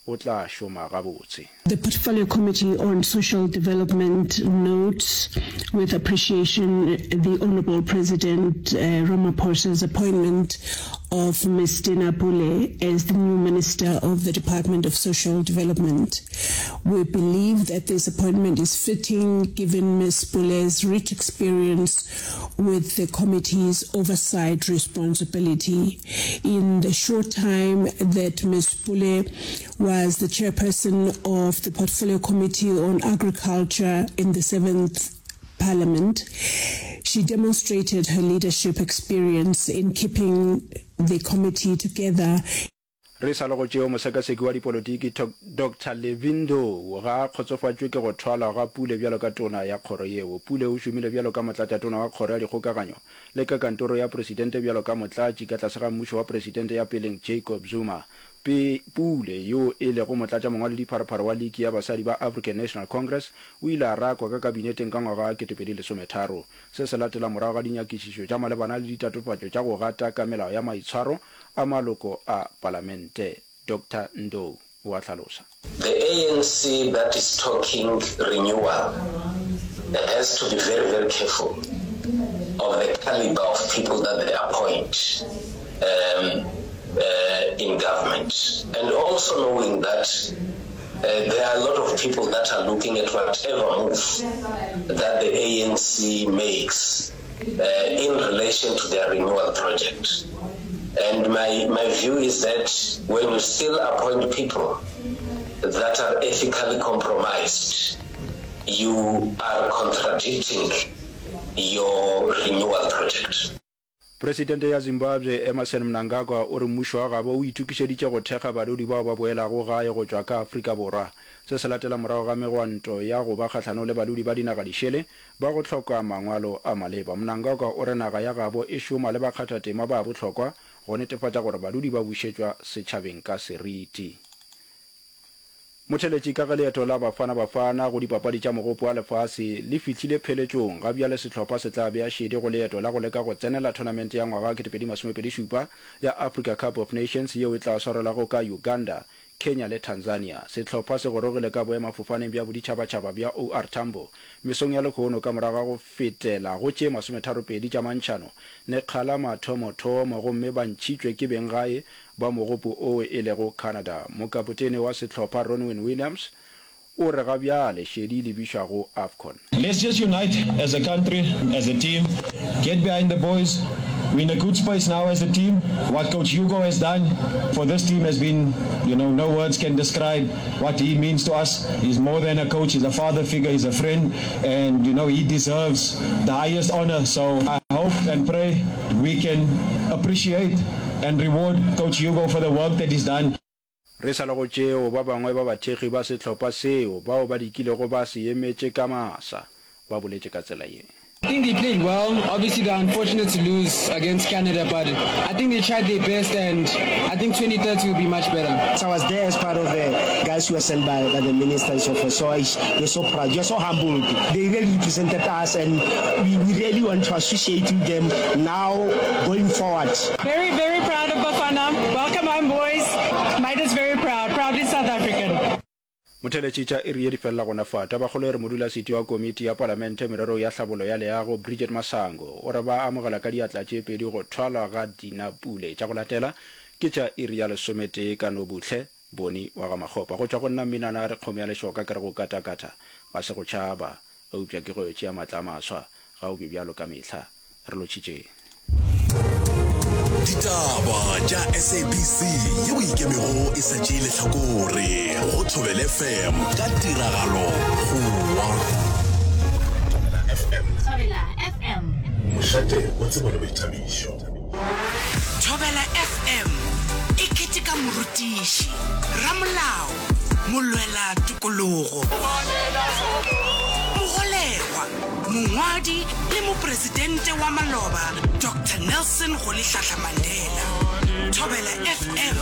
o tla šoma gabotse. The Portfolio Committee on Social Development notes with appreciation the Honourable President Ramaphosa's appointment of Ms Dina Pule as the new Minister of the Department of Social Development. We believe that this appointment is fitting given Ms Pule's rich experience with the committee's oversight responsibility. In the short time that Ms Pule was the chairperson of the Portfolio Committee on Agriculture in the seventh Parliament, she demonstrated her leadership experience in keeping the committee together. Re sa le go tšeo, mosekaseki wa dipolotiki Doctor Levy Ndou ga a kgotsofatšwe ke go thwalwa ga Pule bjalo ka tona ya kgoro yeo. Pule o šomile bjalo ka motlatšatona wa kgoro ya dikgokaganyo le ka kantoro ya presidente bjalo ka motlatši ka tlase ga mmušo wa presidente ya peleng Jacob Zuma. Pe Pule, yo e lego motlatšamongwaledipharephare wa liki ya basadi ba African National Congress, o ile a rakwa ka kabineteng ka ngwaga wa 2013. Se se latela morago ga dinyakišišo tša malebana le ditatofatšo tša go gata ka melao ya maitshwaro a maloko a palamente. Doctor Ndou o a hlalosa. The ANC that is talking renewal has to be very, very careful of the caliber of people that they appoint um, uh, in government. And also knowing that uh, there are a lot of people that are looking at whatever move that the ANC makes uh, in relation to their renewal project. And my, my view is that when you still appoint people that are ethically compromised, you are contradicting your renewal project. Presidente ya Zimbabwe Emmerson Mnangagwa o re mmušo wa gabo o itokišeditše go thekga badudi bao ba boelago gae go tšwa ka Afrika Borwa. Se se latela morago ga megwanto ya go ba kgahlanong le badudi ba dinaga dišele ba go hloka mangwalo a maleba. Mnangagwa o re naga ya gabo e šoma le bakgathatema ba bohlokwa go netefatša gore badudi ba bušetšwa setšhabeng ka seriti. Motheletši ka ge leeto la Bafana Bafana go dipapadi tša Mogopo wa Lefase le fihlile pheletšong, ga bjale sehlopha se tla bea šedi go leeto la go leka go tsenela thonamente ya ngwaga wa 2027 ya Africa Cup of Nations yeo e tla swarelwago ka Uganda, Kenya le Tanzania. Sehlopha se gorogile ka boemafofaneng bja boditšhabatšhaba bja OR Tambo mesong ya lehono ka morago ga go fetela go tše masometharopedi tša mantšhano lekga la mathomothomo gomme ba ntšhitšwe ke benggae ba mogopo oo e lego Canada. Mokapotene wa sehlopha Ronwen Williams o re ga bjale šedi e lebišwa go AFCON. Let's just unite as a country, as a team, get behind the boys. We're in a good space now as a team. What coach Hugo has done for this team has been, you know, no words can describe what he means to us. He's more than a coach, he's a father figure, he's a friend, and, you know, he deserves the highest honor. So I hope and pray we can appreciate and reward coach Hugo for the work that he's done. Re sa le go tšeo, ba bangwe ba bathekgi ba sehlopha seo bao ba dikilego ba se emetše ka masa ba boletše ka tsela ye. I think they played well, obviously they're unfortunate to lose against Canada but I think they tried their best and I think 2030 will be much better. I was there as part of the guys who were sent by, by the minister and so forth. So I, we're so proud. We're so humbled. They really represented us and we, we really want to associate with them now going forward. Very, very proud of Bafana. Welcome home boys. Made us very proud. Proudly South African. Motheletši tša iri ye di felela gona fa. Tabakgolo e re modulasetu wa komiti ya palamente mererong ya hlabollo ya leago Bridget Masango o re ba amogela ka diatla tše pedi go thwalwa ga Dina Pule. Tša go latela ke tša iri ya lesometee ka Nobuhle Boni wa ga Makgopa. Go tšwa go nna Mminana a re kgomo ya lešoka ke re go katakata ga se go tšhaba eupša ke go yo tšea matla a maswa. Ga o be bjalo ka mehla. Re lotšhitšeng. Ditaba tša SABC yeo e ikemego e sa tšee lehlakore go Thobela FM ka tiragalo Goa. Thobela FM. Thobela FM. Mošate wa tsebo le boithabišo. Thobela FM e keteka morutiši, ramolao, molwela tokologo, mogolegwa, mongwadi le mopresidente wa maloba Doctor Nelson Rolihlahla Mandela. Thobela FM,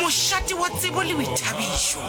mošate wa tsebo le boithabišo.